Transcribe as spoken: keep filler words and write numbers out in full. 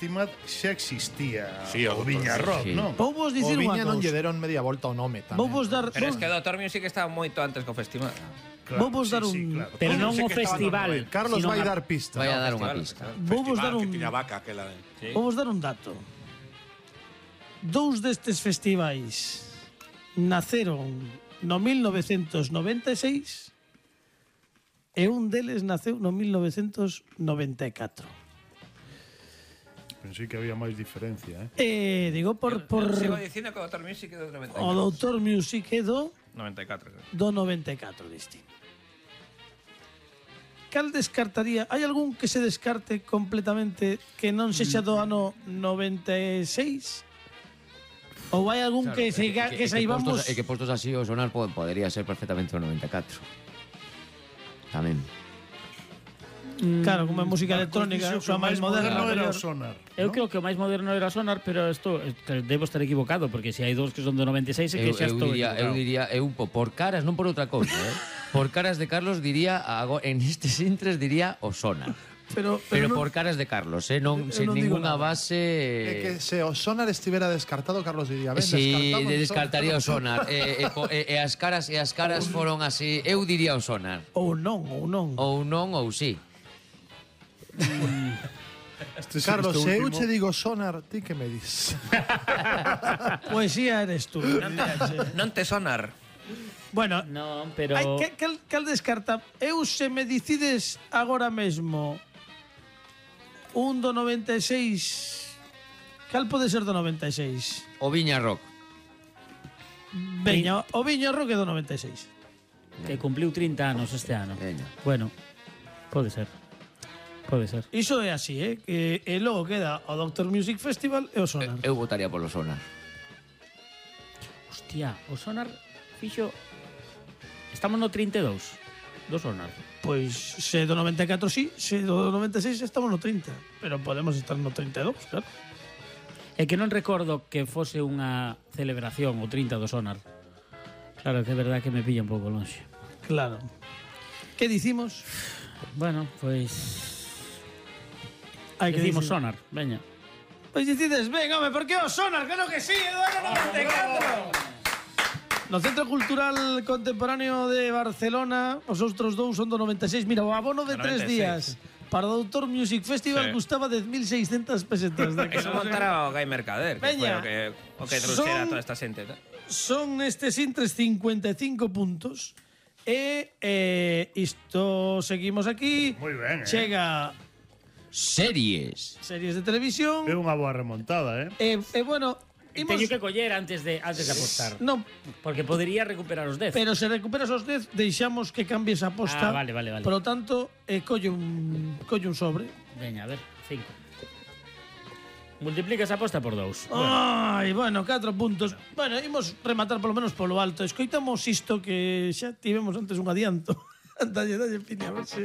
Timad xa existía Sí, o o Viña Rock, sí. non? Vou vos O dicir unha Viña non lle cousa. deron media volta ao nome tamén. Vou vos dar Pero es vou, que o Doctor Music estaba moito antes que o festival. Claro, vou vos dar sí, sí, un claro. Pero non Sei o que estaba no festival. noventa. Carlos sino vai a- dar pista. Vai a dar festival, unha pista. vou vos dar Festival un que tiña vaca aquela de... Sí. vou vos dar un dato. Dous destes festivais naceron no mil novecentos noventa e seis e un deles naceu no mil novecentos noventa e catro. Pensei que había máis diferencia, eh? Eh, digo por por Sigo dicindo que o Doctor Music é do noventa e o catro. Doutor Music é do noventa e catro. creo. do noventa e catro deste. Cal descartaría? Hai algún que se descarte completamente que non sexa do ano noventa e seis? Ou hai algún Claro, que, se, é que, que saibamos? postos, é que postos así o sonar po- podería ser perfectamente o noventa e catro. Tamén. Claro, como é música electrónica, Dixo que xa o máis máis moderno moderna. era o mellor. Sonar. Eu non? creo que o máis moderno era Sonar, pero isto que debo estar equivocado, porque se hai dous que son do noventa e seis é que Eu, xa eu estou diría, eu equivocado. diría, eu po- por caras, non por outra cousa, eh? Por caras de Carlos diría, ago- en estes intres diría o Sonar. Pero, Pero pero, non, por caras de Carlos, eh? Non, Eu sen non digo ninguna nada. base... É que se o Sonar estivera descartado, Carlos diría, ben, Sí, descartamos de o descartaría o Sonar. e, e, po- e, e as caras e as caras foron así, eu diría o Sonar. ou non, ou non. Ou non ou sí. Este, Carlos, este se eu último- che digo Sonar, ti que me dis? Poesía eres tú. Non te sonar. Bueno, Non, pero hai, que, cal, cal descarta? Eu se me decides agora mesmo un do noventa e seis, cal pode ser do noventa e seis? O Viña Rock. Veña, o Viña Rock é do noventa e seis. que cumpliu trinta anos este ano. Veña. Bueno, pode ser. Pode ser. Iso é así, eh? Que e logo queda o Doctor Music Festival e o Sonar. Eu votaría polo Sonar. Hostia, o Sonar fixo... Estamos no trinta e dous do Sonar. Pois se do noventa e catro sí, se do noventa e seis estamos no trinta, pero podemos estar no trinta e dous, claro. É que non recordo que fose unha celebración o trinta do Sonar. Claro, que é verdad que me pilla un pouco lonxe. Claro. Que dicimos? Bueno, pois... Hai que Decimos dicir- Sonar, veña. Pois dicides, ven, home, por que o Sonar? Claro que sí, é do ano noventa e catro. No Centro Cultural Contemporáneo de Barcelona, os outros dous son do noventa e seis. Mira, o abono de tres noventa e días seis. para o Doutor Music Festival Sí. custaba dez mil seiscentas pesetas. De Eso montara o Gai Mercader, que foi Veña. o que, o que trouxera Son- toda esta xente. ¿no? Son nestes intres cincuenta e cinco puntos. E eh, isto seguimos aquí. Moi ben, eh? Chega Series. series de televisión. É unha boa remontada, eh? E, e bueno, imos... Teño que coller antes de antes de apostar. Non, Porque podería recuperar os dez. pero se recuperas os dez, deixamos que cambies a aposta. Ah, vale, vale, vale. Por lo tanto, eh, colle un colle un sobre. Veña, a ver, cinco. Multiplica esa aposta por dous. Ai, bueno, catro puntos. Bueno, imos rematar polo menos polo alto. Escoitamos isto que xa tivemos antes un adianto. dalle, dalle, Pini, a ver se...